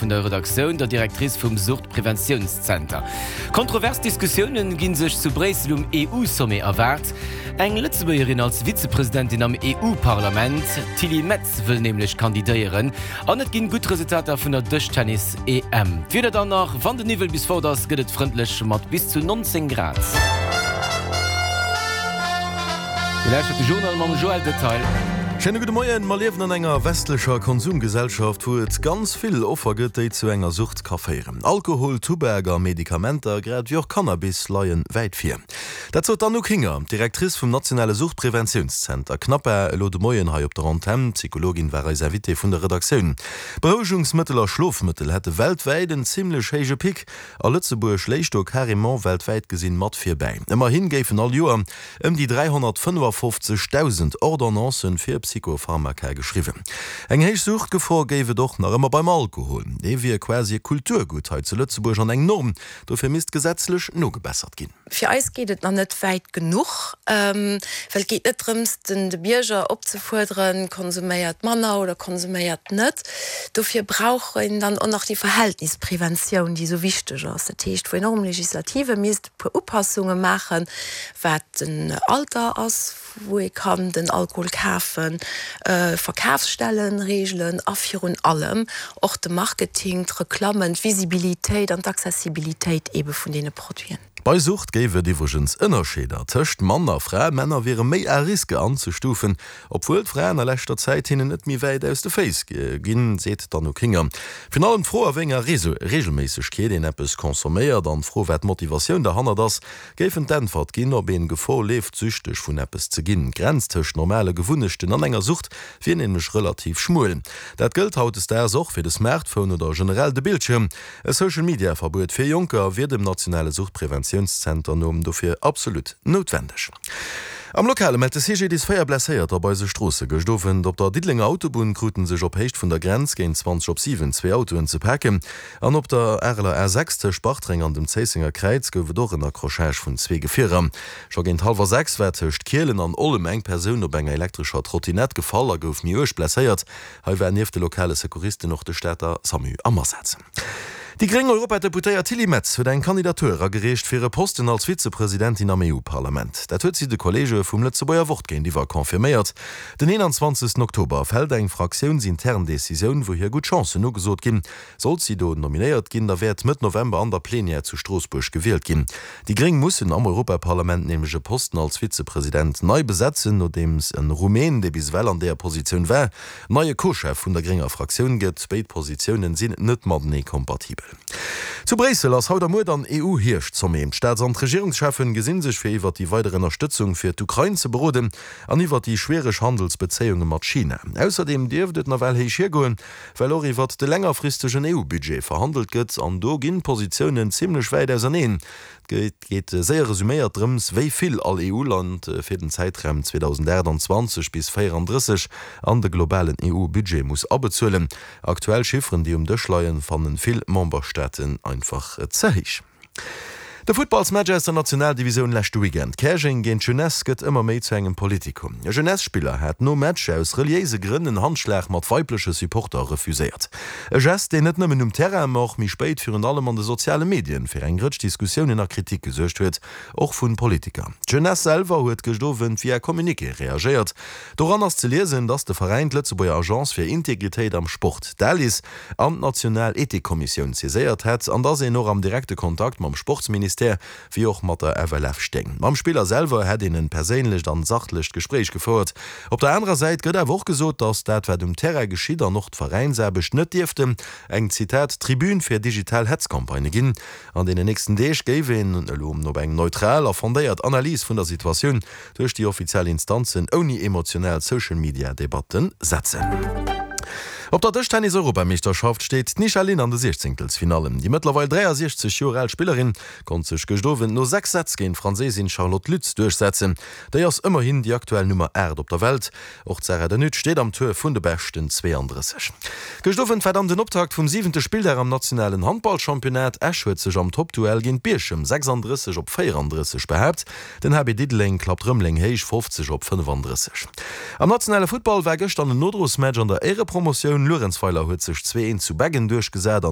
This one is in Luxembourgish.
vun der Redaktioun, der Directrice vum Suchtpreventiounszenter. Kontrovers Diskussiounen gi sech zu Bréissel um EU-Sommet erwaart. Eng Lëtzebuergerin als Vizepresidentin am EU-Parlament, d'Tilly Metz wëll nämlech kandidéieren. An et ginn gutt Resultater vun der Dëschtennis-EM. D'Wieder dann nach, Wann den Niwwel bis fort ass, gëtt et frëndlech mat bis zu 19 Grad. Dir lauschtert de Journal mam Joël Detail. Schéine gudde Moien. Mer liewen an enger westlecher Konsumgesellschaft, wou et ganz vill Offer gëtt, déi zu enger Sucht ka féieren. Alkohol, Tubak a Medikamenter, grad ewéi och Cannabis leie wäit vir. Dat sot d'Anouk Hinger, d'Directrice vum nationale Suchtpreventiounszenter CNAPA, elo de Moien hei op der Antenn. D'Psychologin war eis Invitée vun der Redaktioun. Berouegungsmëttel a Schlofmëttel hätte weltwäit en zimmlech héije Pic. A Lëtzebuerg léich do carrément weltwäit gesinn mat virbäi. Ëmmerhi géifen all Joer ëm déi 355.000 Ordonnancen fir Psychopharmaka geschriwwen. Eng héich Suchtgefor géif et och nach ëmmer beim Alkohol. Dee wier quasi e Kulturgutt hei zu Lëtzebuerg an eng Norm. Dofir misst gesetzlech nogebessert ginn. Fir eis geet et nach net wäit genuch, well et geet net drëms, den de Bierger opzefuerderen, konsuméiert manner oder konsuméiert net. Dofir brauch een dann och nach déi Verhältnispreventioun, déi esou wichteg ass. Dat heescht, wou een och um Legislative misst e puer Upassunge maachen, wat den Alter ass, wou ee kann den Alkohol kafen, Verkafsstellen reegelen a virun allem och de Marketing, d'Reklammen, d'Visibilitéit an d'Accessibilitéit eebe vun deene Produiten. Bei Sucht géif et iwwregens Ënnerscheeder tëscht Mann a Fra, Männer wiere méi à risque anzestufen, obwuel d'Fraen a leschter Zäit hinnen net méi wäit aus de Féiss ginn, seet d'Anouk Hinger. Virun allem d'Fro a wéi enger Reegelméissegkeet een eppes consomméiert an d'Fro wat d'Motivatioun derhannert ass, Géifen d'Äntwert ginn, ob een Gefor leeft, süchteg vun eppes ze ginn. D'Grenz tëscht normale Gewunnechten an enger Sucht wier nämlech relativ schmuel. Dat gëllt hautdesdaags och fir de Smartphone oder generell de Bildschirm. E Social-Media-Verbuet fir Jonker wier dem nationale Suchtpreventiounszenter no dofir absolut noutwendeg. Am Lokale mellt de CGDIS 4 Blesséierter op eise Stroosse. Gëscht Owend op der Diddelenger Autobunn krute sech op Héicht vun der Grenz géint 20 op 7 zwee Autoen ze paken. An op der Areler A6 tëscht Bartreng an dem Zéissenger Kräiz gouf et och en Accrochage vun zwee Gefierer. Scho géint hallwer 6 war tëscht Kielen an Ollem eng Persoun op enger elektrescher Trottinett gefall a gouf méi uerg blesséiert. Hei war nieft de lokale Secouristen och de Stater Samu am Asaz. Déi gréng Europadeputéiert Tilly Metz huet eng Kandidatur eragereecht fir e Posten als Vizepresidentin am EU-Parlament. Dat huet si de Kolleege vum Lëtzebuerger Wort géintiwwer confirméiert. Den 21 Oktober fält eng fraktiounsintern Decisioun, wou hir gutt Chancen ugesot ginn. Sollt si do nominéiert ginn, da wäert Mëtt November an der Plenière zu Stroossbuerg gewielt ginn. Déi Gréng mussen am Europaparlament nämlech e Posten als Vizepresident nei besetzen, nodeems e Rumän, dee bis ewell an deeër Positioun war, neie Co-Chef vun der grénger Fraktioun gëtt. Béid Positiounen sinn net matenee kompatibel. Zu Bréissel ass haut a muer dann EU-Hierscht-Sommet. D'Staats an d'Regierungscheffen gesinn sech fir iwwert déi weider Ënnerstëtzung fir d'Ukrain ze beroden an iwwert déi schwiereg Handelsbezéiunge mat China. Ausserdeem dierft et nawell héich hiergoen, Well och iwwert de längerfristegen EU-Budget verhandelt gëtt, an do ginn d'Positiounen zimlech wäit auserneen. Et geet séier resuméiert drëms, wéi vill all EU-Land fir den Zäitraum 2028 bis 34 an de globalen EU-Budget muss abezuelen. Aktuell Chifferen, déi um Dësch leien, fannen vill Memberstaaten einfach ze héich. De Futtballsmatch aus der Nationaldivisioun leschte Weekend, Käerjeng géint d'Jeunesse, gëtt ëmmer méi zu engem Politikum. E Jeunesse-Spiller hat nom Match aus reliéise Grënn en Handschlag mat weibleche Supporter refuséiert. E Gest, deen net nëmmen um Terrain, ma och méi spéit virun allem an de soziale Medien fir eng Rëtsch Diskussiounen a Kritik gesuergt huet, och vu Politiker. D'Jeunesse selwer huet gëscht Owend via Communiqué reagéiert. Doran ass ze liesen, datt de Veräin d'Lëtzebuerger Agence fir Integritéit am Sport, d'ALIS, an d'national Ethikkommissioun saiséiert hätt an dass een och am direkte Kontakt mam Sportsministère wéi och mat der FLF stéing. Mam Spiller selwer hätt een en perséinlecht an sachlecht Gespréich gefouert. Op der anerer Säit gëtt awer och gesot, dass dat wat um Terrain geschitt an och d'Veräinsaarbecht net dierften eng, Zitat, Tribün fir digital Hetzcampagnë ginn. An deenen nächsten Deeg géif een elo op eng neutral a fondéiert Analys vun der Situatioun duerch déi offiziell Instanzen ouni emotional Social-Media-Debatten setzen. Op der Dëschtennis-Europameeschterschaft steet d'Nisha Lin an de Siechzéngtelsfinallen. Déi mëttlerweil 63 Joer al Spillerin konnt sech gëscht Owend no 6 Sätz géint d'Franséisin Charlotte Lutz duerchsetzen. Déi ass ëmmerhin déi aktuell Nummer 8 op der Welt. Och d'Sarah De Nutte steet am Tour vun de beschten 32. Gëscht Owend war dann den Optakt vum siwente Spilldag am nationalen Handballchampionnat. Esch huet sech am Toppduell géint Bierchem 36 op 34 behaapt. Den HB Diddeleng klappt Rëmeleng héich, 50 op 35. Am nationale Futtball war gëschter en Nodrosmatch an der Éierepromotioun. Luerenzweiler huet sech 2, 1 zu Beggen duerchgesat.